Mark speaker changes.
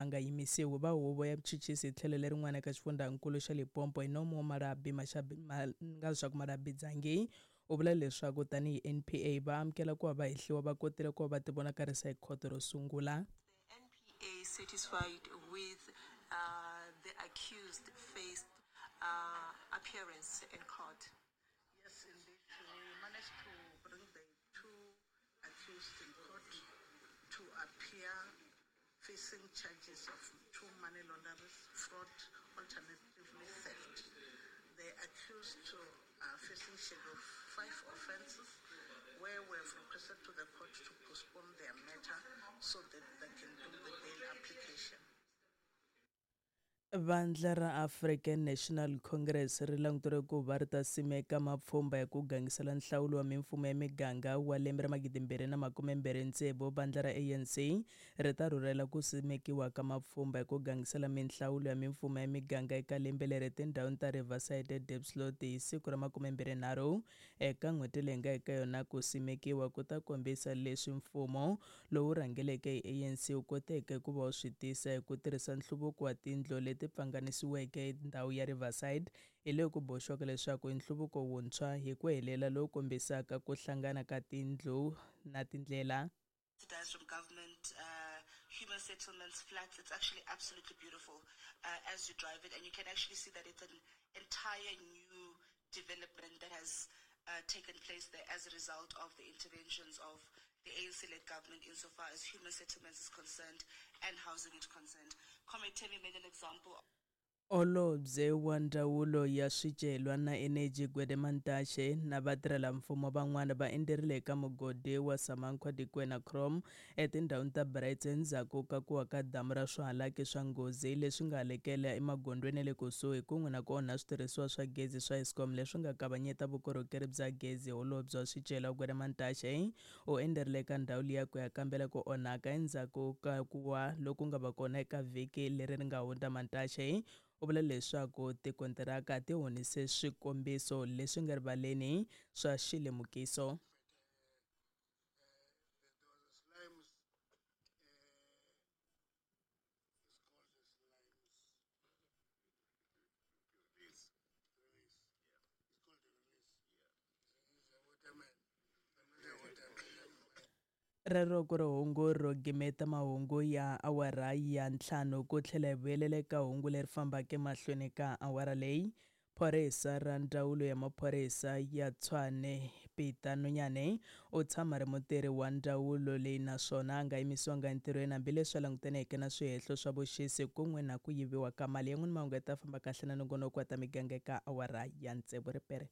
Speaker 1: A nga yimisiwi va huvo ya vuchuchisi hi tlhelo lerin'wana eka xifundzankulu xa Limpopo hi nomu wa Malabi nga leswaku Malabi Dzangi u vula leswaku tanihi NPA va amukela ku va va hehliwa va kotile ku va va tivonakarisa hi khoto ro sungula.
Speaker 2: The NPA satisfied with the accused first appearance in court.
Speaker 3: Yes, indeed. We managed to bring the two accused in court to appear facing charges of two money launderers, fraud, alternatively theft. The accused are facing schedule 5 offences where we have requested to the court to postpone their matter so that they can do the bail application.
Speaker 1: Vandla ra African National Congress ri languteriwe ku va ri ta simeka mapfhumba ya ku gangisela nhlawulo wa mimfumo ya miganga wa lembe ra 2026. Vandla ra ANC ri ta rhurhela ku simekiwa ka mapfhumba ya ku gangisela minhlawulo ya mimfumo ya miganga eka lembe leri etindhawini ta Riverside eDiepsloot hi siku ra 23 eka n'hweti leyi nga eka yona. Ku simekiwa ku ta kombisa leswi mfumo lowu rhangeleke hi ANC wu koteke ku va wu swi tisa hi ku tirhisa nhluvuko wa tindlu leti pfanganisiweke. Ndhawu ya Riverside hi leyi ku boxiwaka leswaku i nhluvuko wuntshwa hi ku helela lowu kombisaka ku hlangana ka tindlu na tindlela.
Speaker 4: Subsidized from government, human settlements, flats. It's actually absolutely beautiful as you drive it, and you can actually see that it's an entire new development that has taken place there as a result of the interventions of the ANC-led government insofar as human settlements is concerned and housing is concerned. Comrade Temi made an example.
Speaker 1: Holobye wa Ndzawulo ya Swicelwa na Eneji Gwede Mantashe na vatirhelamfumo van'wana va endzerile eka mugodi wa Samanqua Dikwena Chrome etindhawini ta Brits endzhaku ka ku wa ka damu ra swihalaki swa nghozi leswi nga halekela emagondzweni ya le kusuhi kun'we na ku onha switirhisiwa swa gezi swa Eskom leswi nga kavanyeta vukorhokeri bya gezi. Holobye wa Swicelwa Gwede Mantashe u endzerile eka ndhawu liya ku ya kambela ku onhaka endzhaku ka ku wa loku nga va kona eka vhiki leri ri nga hundza. Mantashe u vula leswaku tikontiraka ti honise swikombiso leswi nga rivaleni swa xilemukiso. Rero ku ri hungu ro gimeta mahungu ya awara ya 5 ku tlhela hi vuyelela eka hungu leri fambaka emahlweni ka awara leyi. Phorisa ra ndzawulo ya maphorisa ya Tshwane Peter Nonyane u tshama ri mutirhi wa ndzawulo leyi naswona a nga yimisiwanga entirhweni hambileswi a langutaneke na swihehlo swa vuxisi kun'we na ku yiviwa ka mali. Yan'wini mahungu ya ta famba kahle na nongonoko wa ta miganga eka awara ya 6 ripere.